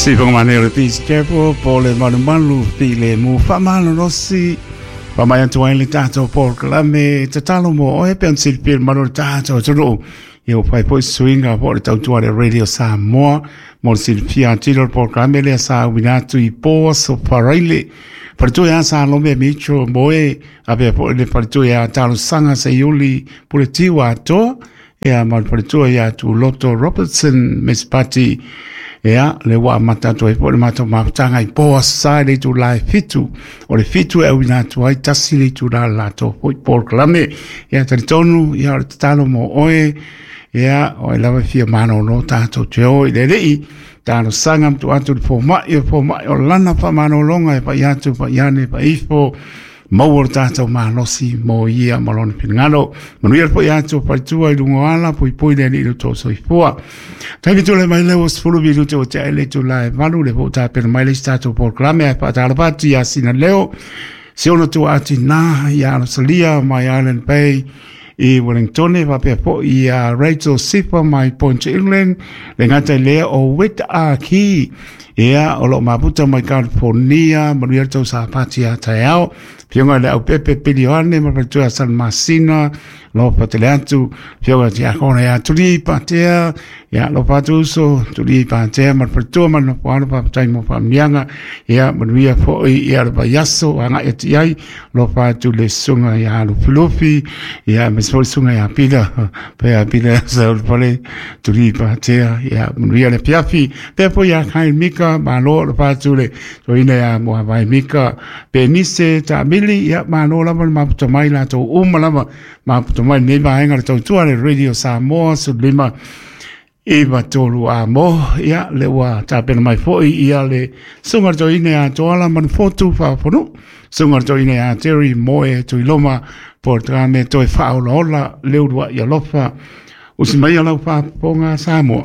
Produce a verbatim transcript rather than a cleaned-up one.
Sifonga mane o le Peace Chapel po le malumalu file mu whamalolosi pa mai atu ai le tātou polokalame tatalo mo oe pe on silipia le malu o le tātou atunuu. Ia ua fai foi suiga po o le tautua le Radio Samoa mo le silafia atili o le polokalame lea sa uina atu i po aso Faraile. Faletua ia Salome Mitchell Moe apea foi le faletua ia Talosaga Seiuli Puletiu atoa ia ma le faletua ia Tuloto Robertson Miss Pati. Ia, le ua amata atu ai foi le matou mafutaga i po aso Sa i le itula e fitu. O le fitu e auina atu ai tasi le itula le latou foi polokalame. Ia, talitonu, ia, o le tatalo mo oe, ia, o ai lava e fia malolo tatou te o i le Alii, talosaga ma tuu atu i le fomai, o le fomai o lana faamalologa e pai atu, pai ane, pai ifo, maua lo tātou malosi mo ia ma lona finagalo. Manuia le foi atu o faletua i luga o ala, puipui le Alii i lo outou soifua. Taimi tulai mai lea ua sefulu minute ua tea i le itula e valu, le po o tapena mai le isi tatou polokalame ae faatalofa atu ia Sina Leo, si ona tuua tinā ia Alosalia mai Island Bay i Wellingtone, faapea foi ia Rachel Sifa mai Point England, le gata i lea o Wit Aki, ia o loo maputa mai California, manuia le tou sapati a taeao. Fioga i le Aupepe Pilioane ma faletua San Masina, lofa tele atu, fioga Tiakona ia Tuli Patea, ia lofa atu uso, Tuli Patea ma le faletua ma le nofoalo, faafetai mo faamanuiaga, ia manuia foi ia le vaiaso agai atu i ai, lofa atu le susuga ia Lufilufi, ia aemaise foi le susuga ia Pila, pe ia Pila Saulefale, Tuli Patea, ia manuia le afiafi, pea foi ia Kyle Mika, malo lofa atu le toeaina ia Muavai Mika, Penise Taamili, ia malo lava le maputa mai latou uma lava, maputa mai lenei vaega le tautua le Radio Samoa sefulu lima iva tolu a mo, ia le ua tapena mai foi ia le susuga le toeaina ia Toala Manufotu Faafonu, susuga le toeaina ia Terry Moe Tuiloma, polokalame toe faaolaola le uluai alofa. Usi mai lau faafofoga Samoa.